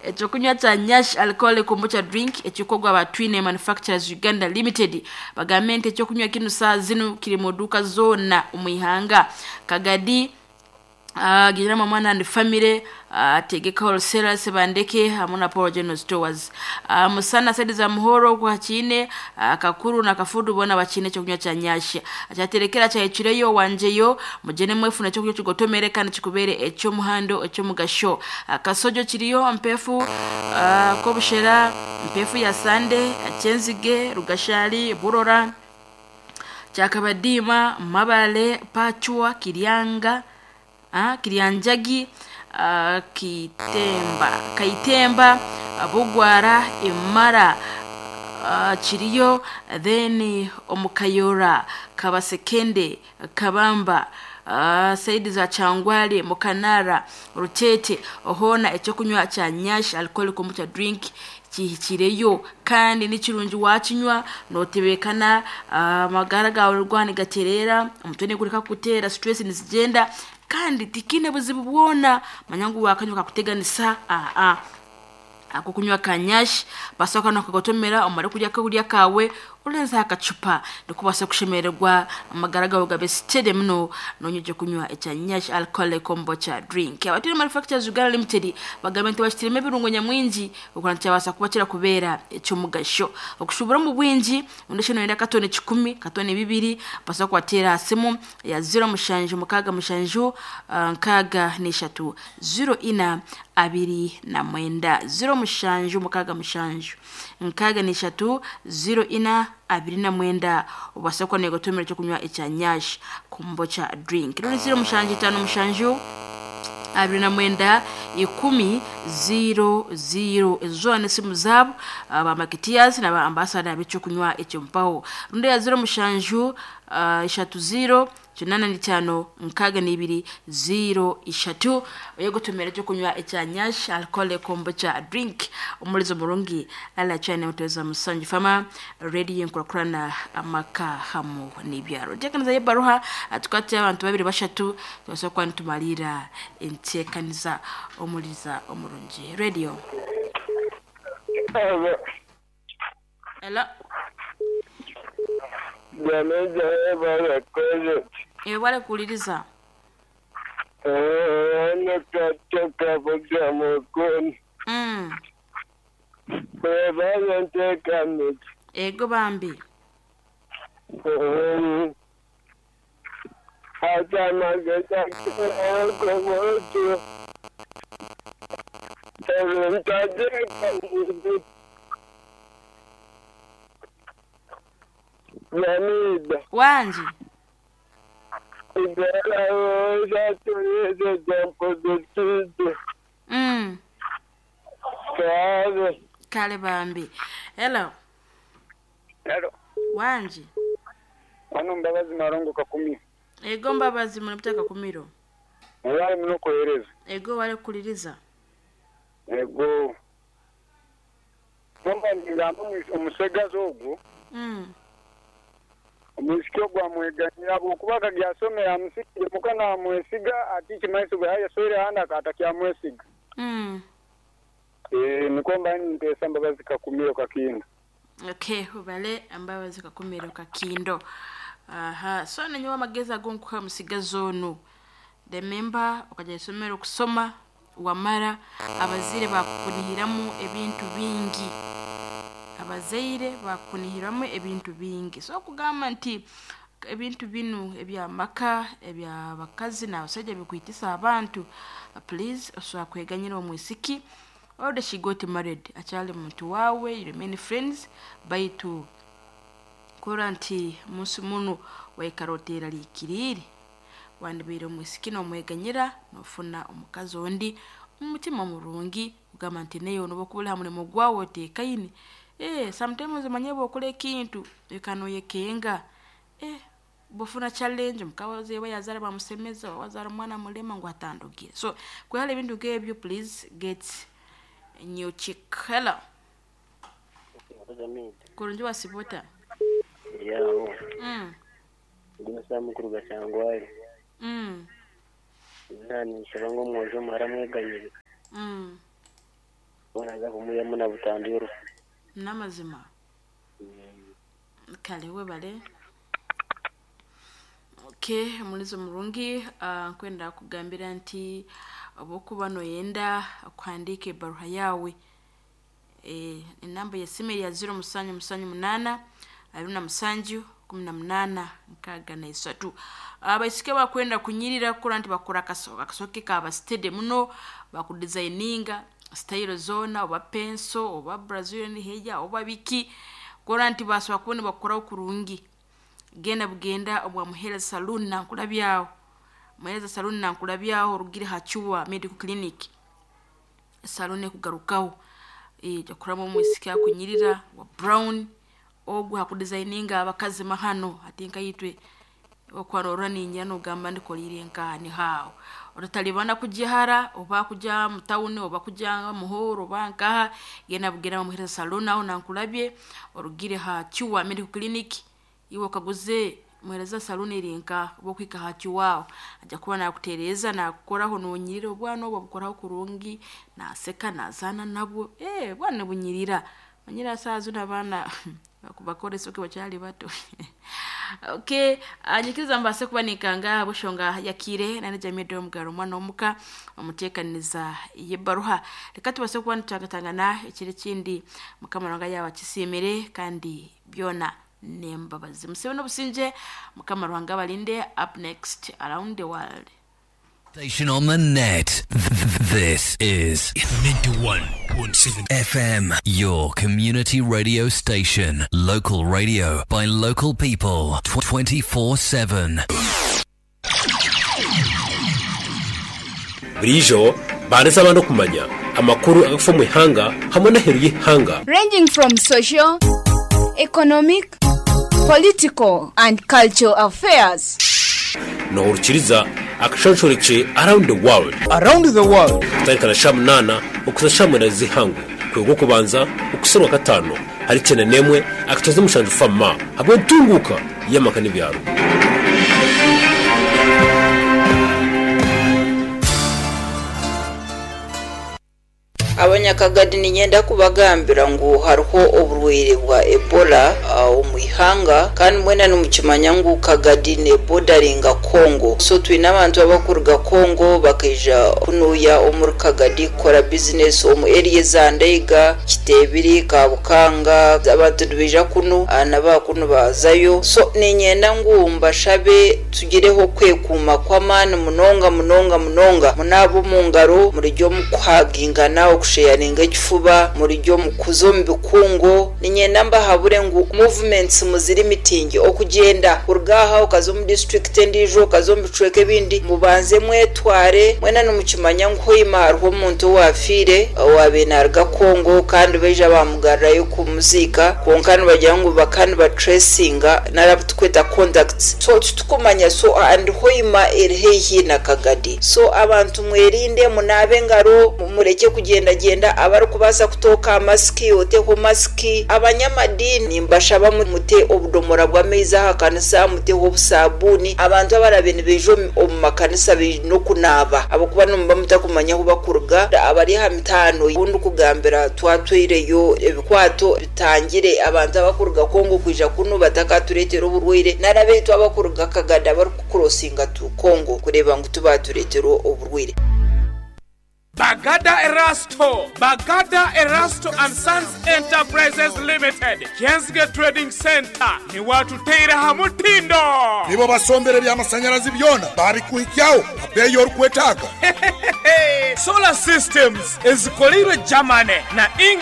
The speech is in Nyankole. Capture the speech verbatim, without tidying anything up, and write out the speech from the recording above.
Ekyokunywa kya Nyash Alcoholic Kombucha Drink ekikorwa ba Twine Manufacturers Uganda Limited. Bagambe nti ekyokunywa kinu saa zinu kiri mu duuka zoona omu ihanga. Kagadi, uh, Giramu Mwana and Family, uh, Tegeka Wholesalers Bandeke hamwe na Paul General Stores. Uh, Musana sedi za Muhoro kwa Chine, uh, Kakuru na Kafudu bona bachine ekyokunywa kya Nyash. Akyaterekera kyahikireyo wanjeyo mugene mwefu nekyokunywa kigotomere kandi kikubere ekyomuhando ekyomugasho. Uh, Kasojo kiriyo mpefu, uh, Kobushera mpefu ya Sande, Kyenzige, Rugashali, Burora, Kyakabadima, Mabale, Pachwa, Kiryanga, ah, Kiryanjagi, ah, Kitemba, Kaitemba, ah, Bugwara, Imara, ah, Kiriyo, then Omukayora, Kabasekende, Kabamba, uh, saidi za Changwale, Mukanara, Rutete, ohona ekyokunywa kya Nyash Alcoholic Kombucha Drink kihikireyo kandi nikirungi wakinywa notebekana, amagara gawe rwani gaterera, omutwe nigureka kuteera, stress nizigenda kandi tikine buzibu bwona. Manya ngu wakanywa kakuteganisa aa ako kunywa kanyashi basoka nokagotomera omare kurya kurya kawe urenza akacupa nikubasa kushemererwa amagara gawe gabe steady muno nonyeje kunywa ekya Nyash Alcoholic Kombucha Drink. Abatiri Manufacturers Uganda Limited bagambe nti bakitiremu ebirungo nyamwingi okura ntikyabasa kuba kirakubeera ekyomugasho okushubura omu bwingi ondi noyenda katone kikumi katone bibiri basa kubateera aha simu ya ziro mushanju mukaaga mushanju ah, nkaaga n'eshatu ziro ina abiri na mwenda, ziro mushanju mukaaga mushanju nkaaga n'eshatu ziro ina abiri na mwenda obasa kuba negotomera ekyokunywa ekya Nyash Kombucha Drink. Ruri ziro mushanju itaano mushanju abiri na mwenda ikumi ziro ziro. Ezo zoona n'esimu zaabo ba marketeers na ba ambassador b'ekyokunywa ekyo mpaho. Rundi ya ziro mushanju ah, ishatu ziro kinana n'itaano nkaaga n'ibiri ziro ishatu oyegotomera ekyokunywa ekya Nyash Alcoholic Kombucha Drink. Omulizo murungi ala chane muteza musanju fama radio nkurakurana amaka hamu n'ibyaro. Nteekaniza y'ebaruha tukwate abantu babiri bashatu tubasa kuba nitumalira enteekaniza. Omuliza omurungi radio. Hello. Jamaica barakoze. Ewale kuwuliriza. Nakatoka bugamukuni. Mm. Bwebale nteekanisa. Ego bambi. Atamageza komuntu. Ntateekanisa. Jamida. Wangi. Mm. Kale bambi. Hello. Hello. Wangi. Wano Mbabazi Marongo Kakumi. Ego Mbabazi munapita Kakumiro. Wale muno kuhereza. Ego wale kuliriza. Ego. Nomba ngamba omusegazi ogwo. Mm. Omwisiki ogwo amweganyira bwokuba kagyasomera amusikire mukana amwesiga ati kimaiso bwe yasoire handa akatakyamwesiga. Mm. Eh niko mba nteesa Mbabazi Kakumiro Kakindo. Okay, ubale Mbabazi Kakumiro Kakindo. Aha, so nenyewe amagezi agonkuha musigazi onu. Remember okajya isomero kusoma wamara abazire bakukunihiramu ebintu bingi. Abazaire bakukunihiramu ebintu bingi. So okugamba nti ebintu binu ebyamaka ebyabakazi n'abasajja bikwitisa abantu, please osobola kweganyira omwisiki. Already she got married, akyali muntu waawe, you remain friends, baitu kora nti munsi muno waikara oteeraliikiriire wandibaire omwisiki nomweganyira nofuna omukazi ondi omu mutima murungi kugamba nti neyo noba okubura ha murimo gwawe oteekaine. Eh, sometimes omanye bwokora ekintu ekanoyekenga eh bwofuna challenge omukazi oba yazaara bamusemeza oba wazaara omwana mulema ngu atandugire. So kwehara ebintu nk'ebyo, please get a new chick. Hello. Kurungi wasibota. Yawo. Mm. Ndi musaha mukuru Gashangwari. Mm. Nani nshaba ngo omwojo omuhara amweganyire. Mm. Bonaza kumwihamu na butandu y'orufu. N'amazima. Mm. Kale webale. Okay, omulizo murungi. uh, nkwenda kugambira nti obwokuba noyenda kuhandiika ebaruha yawe, e, enamba yesimu ya ziro musanju musanju munana abiri na musanju kumi na munana nkaaga na isatu. Abaisiki bakwenda kunyirira kukora nti bakora akaso- akasoke kaba steady muno, bakudesigninga style zona, oba penso oba brazilian hair oba biki, kora nti basobola kuba nibakoraho kurungi. Genda bugenda obwa Muhereza Saloon nankulabyaho, Muhereza Saloon nankulabyaho, orugire hacuwa medical clinic, salon ekugarukaho jakuramu omwisiki akunyirira wa brown ogwo hakudesigninga abakazi mahano ati nkaitwe okwarora ninya nogamba ndikolire nkani hawo otatalibana kujihara oba kuja mutawuni oba kuja muhoro oba nkaha. Genda bugenda bamuhereza salon aho nankulabye, orugire ha Chuwa medical clinic, iwe okaguze muhereza salon eri nka oba ha Chuwa, aja kuba nakutereza nakukoraho nonyirira obwana obwo bukoraho kurungi, naseka nazana nabwo, eh bwana bunyirira manyira saa zino abaana bakora esoke bakyali bato. Okay, anyikiriza mbase kuba nikanga bushonga yakire nane jamii do mugaro mwana omuka omuteekaniza yebaruha. Reka tubase kuba nitutangatangana ekiri kindi, mukama Ruhanga yaaba kisiimire kandi byona nembabazi. Musibe n'obusinge, mukama Ruhanga abalinde. Up next, Around the World. Station on the net. This is ninety-one point seven F M, your community radio station. Local radio by local people twenty-four seven. Burijo bareza abantu kumanya amakuru agafa mu ihanga hamwe n'aheru y'ihanga, ranging from social, economic, political, and cultural affairs. Nohurukiriza akashonshoreke Around the World. Around the World. Kutarikana sha munana ukuza sha munana z'ihangu kwego kubanza ukuserwa gatano hari cyenda nemwe akatoza umushanju fama hamwe ntunguka y'amaka n'ibyaro. Abanyakagadi ninyenda kubagambira ngu hariho oburwaire bwa Ebola uh, omu ihanga, kandi mwena nimukimanya ngu Kagadi nebodaringa Congo, so twine abantu abakuruga Congo bakaija kunuya omuri Kagadi kukora bizinesi omu area za Ndeiga, Kitebiri, Kabukanga. Abantu nibaija kunu uh, nabakunu bazayo, so ninyenda ngu mbashabe tugireho kwekuuma kw'amaani munonga munonga munonga. Munaaba omu ngaro, murijya omu kuhagingana, okusheyaringa ekifuba, murijya omu kuza omu bikungu. Ninyenda mbahabure ngu movements muziri mitingi, okugyenda kuruga aha okaza omu district endiijo, okaza omu bicweka ebindi, mubanze mwetware. Mwena nimukimanya ngu hoima hariho omuntu owafiire owabiire naruga Congo, kandi baija bamugarurayo kumuziika, kwonka nibagira ngu baka nibatracinga nari tukweta contacts, so titukumanya. So and Hoima eri haihi na Kagadi, so abantu mwerinde, munaabe engaro, mureke kugendagenda. Abarikubaasa kutooka masiki, oteho masiki. Abanyamadini mbashaba mute obudomora bw'amaizi aha kanisa, muteho obusabuuni. Abantu abarabe nibaija omu- omu makanisa baine okunaaba, ahabwokuba nimuba mutakumanya ahu bakuruga. Abari aha mitaano obundi kugambira twatwireyo ebikwato bitangire abantu abakuruga Kongo kwija kunu batakatureetera oburwaire, nari abaitu abakuruga Kagadi abarikukurosinga tu Kongo kureeba ngu tubatureetera oburwaire. Bagada Erasto, Bagada Erasto and Sons Enterprises Limited, Kensge Trading Center, ni watuteire hamutindo. Nibo basombere by'amasanyarazi byona babikuhikyaho abeeyi orikwetaaga. Solar systems ezikolirwe Germany na England.